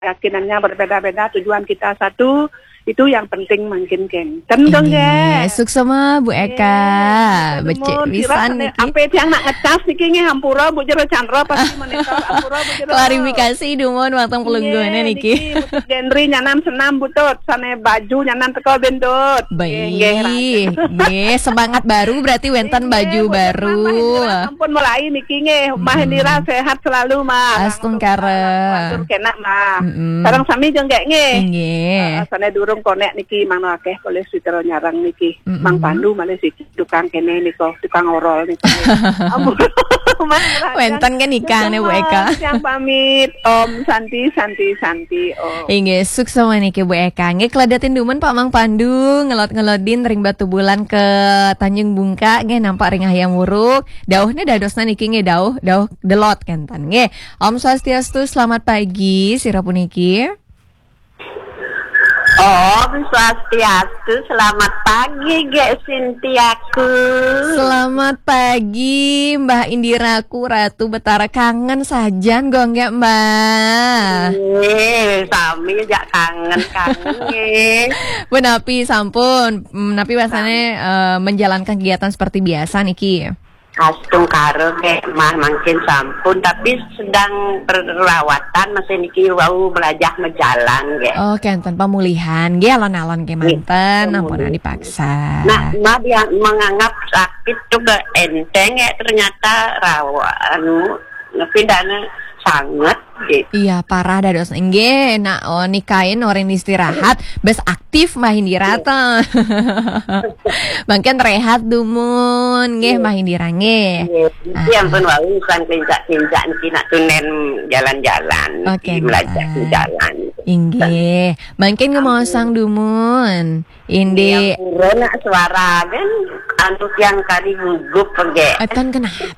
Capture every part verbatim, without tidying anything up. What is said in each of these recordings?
Keyakinannya berbeda-beda, tujuan kita satu, itu yang penting mangkin kenten dong, Inggih, nggih. Suksema Bu Eka. Nggih, Becik nuwun. pisan Sira niki. Ape tiang nak ngecas niki nggih, hampura Bu Jero Chandra pasti monitor, hampura Bu Jero. Klarifikasi dumun wantun pelungguhane Nggih, niki. Bu Tut Gendri nyanan senam Bu Tut, sane baju nyanan teko Ben Tut. Nggih, nggih, Baik, rahayu. Nggih, semangat baru berarti wenten Nggih, baju Bu Tut, baru. Mah Indira sampun mulai niki nggih. Mah Mm-mm. Indira sehat selalu, Mah. Astungkara. Matur kenak, Mah. Mm-mm. Sareng sami jenggek nggih. Nggih. Ah, sane durung konek niki, Mang, akeh polih sutera nyarang niki. Mm-mm. Mang Pandu malih siki tukang kene nika, tukang orol niki. Ampun. Mang Rajan. Wenten kan nikah nih, Bu Eka. Yang pamit. Om Santi, Santi, Santi, Om. Inggih, suksema niki Bu Eka. Nggih, kledetin dumun Pak Mang Pandu, ngelot-ngelodin ring Batubulan ke Tanjung Bungka, nggih, nampak ring Hayam Wuruk. Dauhne dadosna niki nggih, dauh, dauh delot kenten nggih. Om Swastiastu, selamat pagi, sira puniki. Om Swastiastu, selamat pagi, Gek Sintiaku. Selamat pagi, Mbah Indiraku, Ratu Betara, kangen sajan, gonggek, Mbah. Eh, sami jak kangen-kangen, nggih. Punapi sampun, mm, napi wasane, eh, menjalankan kegiatan seperti biasa niki. Astungkara, Gek, Mah, mangkin sampun, tapi sedang perawatan, masih niki wau belajar mejalan, Gek. Oh, kenten pemulihan, nggih, alon-alon kemanten, ampun dipaksa. Nah, Mah dia menganggap sakit tuh gak enteng, Gek, ternyata rawa, anu, tapi dana sangat, gitu. Iya, parah dados. Nggih, nak, oh, nikain orang istirahat, bes aktif Mbah Indira ta. Mangkin rehat dumun, nggih, Mbah Indira nggih. Iya, ya ampun, wau kan kencak-kencak niki nak tunen jalan-jalan, Oke, melajak Mbak. Jalan. Inggih, mangkin ngemaosang dumun. Indi. Pura nak suara kan, anu tiang kali gugup, Gek. Atan kenapa?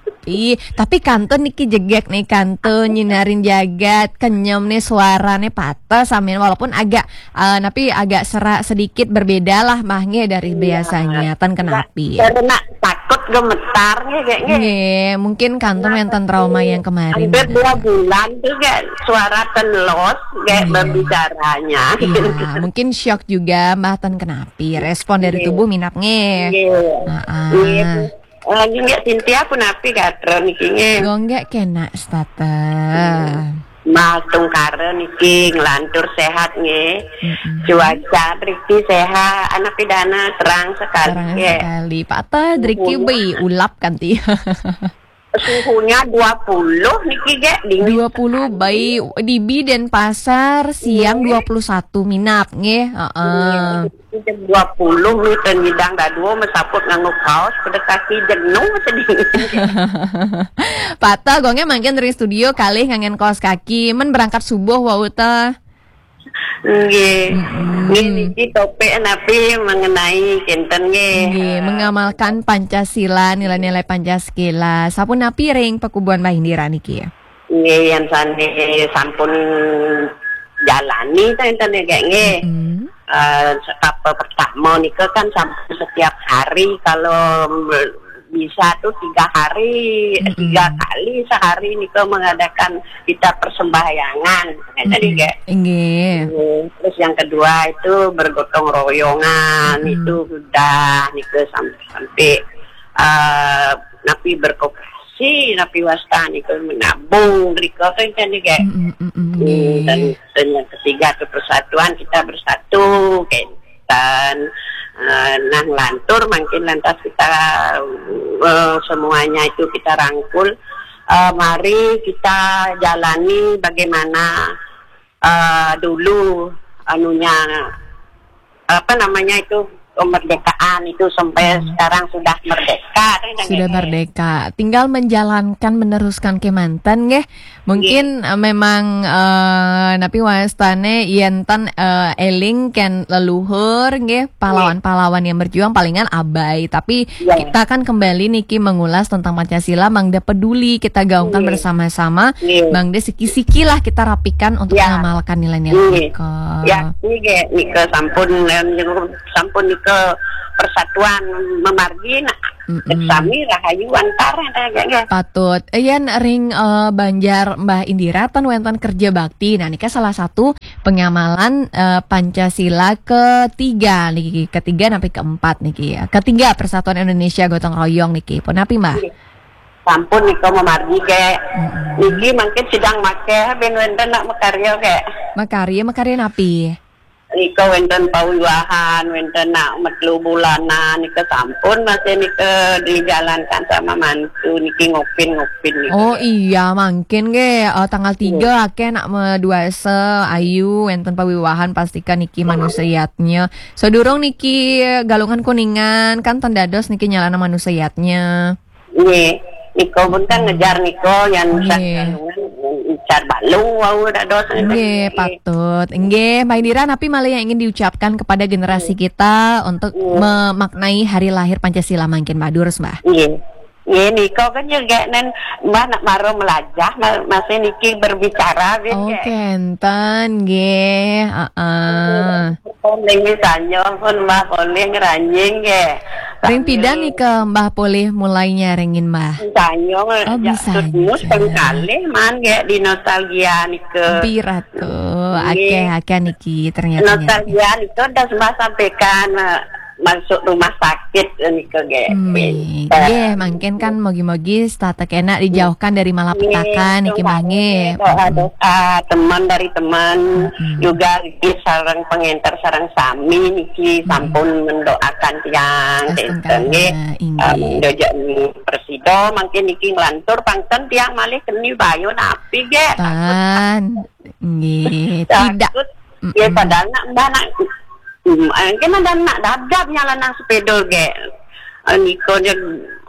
Tapi kantun niki jegek nih, kantun nyinarin jagat, kenyem nih suarane patah samin, walaupun agak, eh, tapi agak serak sedikit berbeda lah, Mah, nggih, dari Iya. biasanya. Tan kenapi. Karena takut gemetar, nggih, Gek, nggih. Nggih, mungkin kantun wenten trauma yang kemarin. Hampir dua bulan tuh, Gek, suara ten los, Gek, Iya. Berbicaranya. Iya, mungkin shock juga, Mbah, tan kenapi. Respon dari Iya. Tubuh minap nggih. Iya. Heeh. Iya. Eh, Gek Sintia, punapi gatra niki, nggih? Gonggek kena stata. Mah tungkara niki nglantur sehat, nggih. Mm-mm. Cuaca mriki sehat, anak pidana terang sekali, Terang Gek. sekali. Patah driki bi ulap kanti. Suhunya dua puluh niki, Gek, dingin. Dua puluh bi di Denpasar, siang dua puluh satu minap nggih. Heeh. Jam dua puluh nih, tengidang dadua mesaput nganggo kaos, pada kaki jenuh sedih. Patah gonge mangkin dari studio kalih nganggen kaos kaki, men berangkat subuh wau ta. Nggih. Mm-mm. Nggih, niki topik napi mengenai kinten, nggih. Nggih, Eh, mengamalkan Pancasila, nilai-nilai Pancasila. Sapunapi ring pakubuhan Mbah Indira niki? Nggih, yang sane sampun jalani, kinten, Gek, nggih. Mm. Eh, sekapa pertama nika kan sampun setiap hari, kalau bisa tuh tiga hari, Mm-mm. tiga kali sehari nika mengadakan kita persembahyangan, kinten, Gek. Nggih. Terus yang kedua itu bergotong royongan, Mm-mm. itu sudah nika sampai, sampai eh, napi berkoperasi, napi wasta nika menabung, rika kan, kan, Gek. Mm-mm, mm-mm, Hmm, dan, nggih. Dan yang ketiga itu persatuan, kita bersatu, kan. Dan eh, nah, lantur mungkin lantas kita eh, semuanya itu kita rangkul. Eh, mari kita jalani bagaimana eh, dulu anunya, apa namanya itu, kemerdekaan itu sampai Hmm. sekarang sudah merdeka, kan, Sudah Gek? Merdeka. Tinggal menjalankan, meneruskan kemanten nggih. Mungkin eh, memang eh, napi wastane yen tan eh, eling ken leluhur nggih, pahlawan-pahlawan yang berjuang palingan abai, tapi Iya. kita kan kembali niki mengulas tentang Pancasila, mangda peduli kita gaungkan Iya. Bersama-sama, Iya. mangda siki-siki lah kita rapikan untuk Iya. mengamalkan nilai-nilai Iya. nika. Ya, ini, Gek, nika sampun, em, sampun nika persatuan memargi, nah, Sami rahayu antar, eh, nggih. Patut. Yen ring, eh, Banjar Mbah Indira ten wenten kerja bakti. Nah, nika salah satu pengamalan, eh, Pancasila ketiga niki, ketiga sampai keempat niki. Ketiga, Persatuan Indonesia Gotong Royong niki. Pun napi, Mbah? Sampun nika mamargi, nggih. Niki mangkin sidang makeh ben wenten nak makarya, nggih. Makarya, makarya napi? Nika wenten pawiwahan, wenten nak metelu bulanan, nika sampun masih nika dijalankan sama mantu, niki ngopin-ngopin nika. Oh iya, mangkin nggih, eh, tanggal tiga akeh nak meduasa ayu, wenten pawiwahan, pastikan niki manusia yatnya. Sadurung niki Galungan Kuningan, kan ten dados niki nyalana manusia yatnya. Nggih, nika pun kan ngejar nika yang ngejar balung wau dados. Nggih, patut. Nggih, Mbah Indira, napi malih yang ingin diucapkan kepada generasi kita untuk memaknai hari lahir Pancasila mangkin, Mbah? Durus, Mbah. Nggih. Nggih, nika kan juga nen Mbah nak maro melajah, ma-, masih niki berbicara, nggih. Oh, kenten, nggih. Heeh. Niki sanyo pun Mbah polih ngeranjing, nggih. Ring pidan nika Mbah polih mulai nyarengin, Mbah? Sanyo, oh, ya, bisa terus aja. Pengkalih man, nggih, di nostalgia nika. Pirat tuh, nggih. Akeh, akeh niki ternyata. Nostalgia nika udah Mbah sampaikan, eh, masuk rumah sakit nika, nggih. Nggih, mangkin kan mogi-mogi setata kena dijauhkan dari malapetaka niki, Mbah, nggih. Doa-doa teman dari teman, juga sareng pengenter sareng sami niki sampun mendoakan tiang, nggih. Nggih. Dojak presido mangkin niki nglantur pangten tiang malih keni bayu napi, nggih. Tan. Nggih, tidak. Nggih, padahal nak Mbah nak, mm, mungkin ada nak dadap nyala nang sepeda, nggih. Eh, nika jeg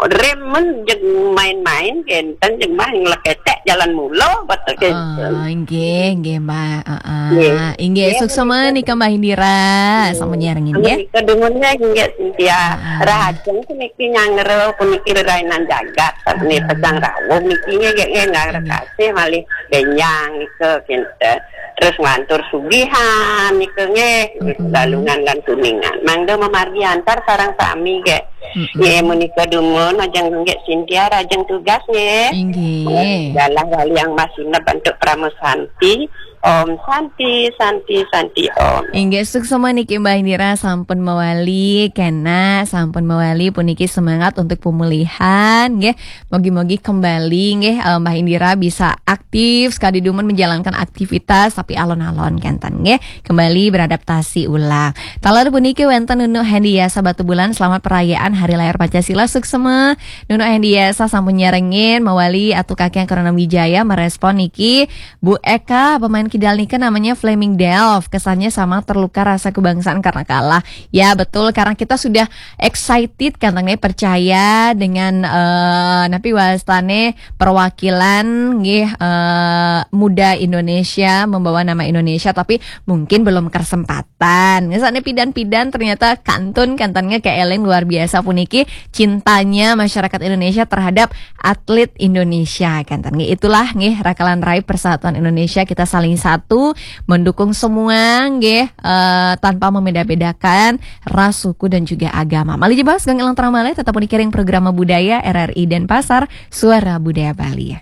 rem men jeg main-main kenten, jeg Mbah ngleketek jalan mula, betul kenten. Ah, nggih, nggih, Mbah. Heeh. Nggih. Inggih, suksema nika Mbah Indira, sampun nyarengin, nggih. Nika dumun, nggih, Cynthia. Rahajeng puniki nyanggra puniki rerainan jagat, sapunika pejang rawuh niki, nggih, nggih, nggih, kasih malih benjang nika kenten. Terus nglantur sugihan nika, nggih, Galungan lan Kuningan. Mangda mamargi antar sareng sami, nggih. Nggih, menika dumun, ajeng nggih Cynthia, rajeng tugas, nggih. Inggih. Dalah wali yang masih bantuk Parama Santi. Om Santi, Santi, Santi, Om. Inggih, suksema niki Mbah Indira sampun mawali, kena sampun mawali puniki semangat untuk pemulihan, nggih. Mogi-mogi kembali, nggih, eh, Mbah Indira bisa aktif sekadi dumun menjalankan aktivitas, tapi alon-alon kenten, nggih. Kembali beradaptasi ulang. Taler puniki wenten Nunu Hendiasa Batubulan, selamat perayaan Hari Lahir Pancasila, suksema. Nunu Hendiasa sampun nyarengin, mawali Atu Kakek Krana Wijaya merespon niki, Bu Eka, pemain kidal nika namanya Flaming Delf. Kesannya sama terluka rasa kebangsaan karena kalah. Ya, betul, karena kita sudah excited, katanya percaya dengan, eh, napi wastane perwakilan, nggih, eh, muda Indonesia, membawa nama Indonesia, tapi mungkin belum kesempatan. Ngesane pidan-pidan ternyata kantun, kantannya kayak Eleng luar biasa puniki cintanya masyarakat Indonesia terhadap atlet Indonesia, kantan. Nggih, itulah, nggih, rakalan rai Persatuan Indonesia, kita saling satu, mendukung semua, nggih, eh, tanpa membeda-bedakan ras, suku, dan juga agama. Malih jebos, Gang Elang Terang Malih, tetap mengikuti program budaya R R I Denpasar, Suara Budaya Bali.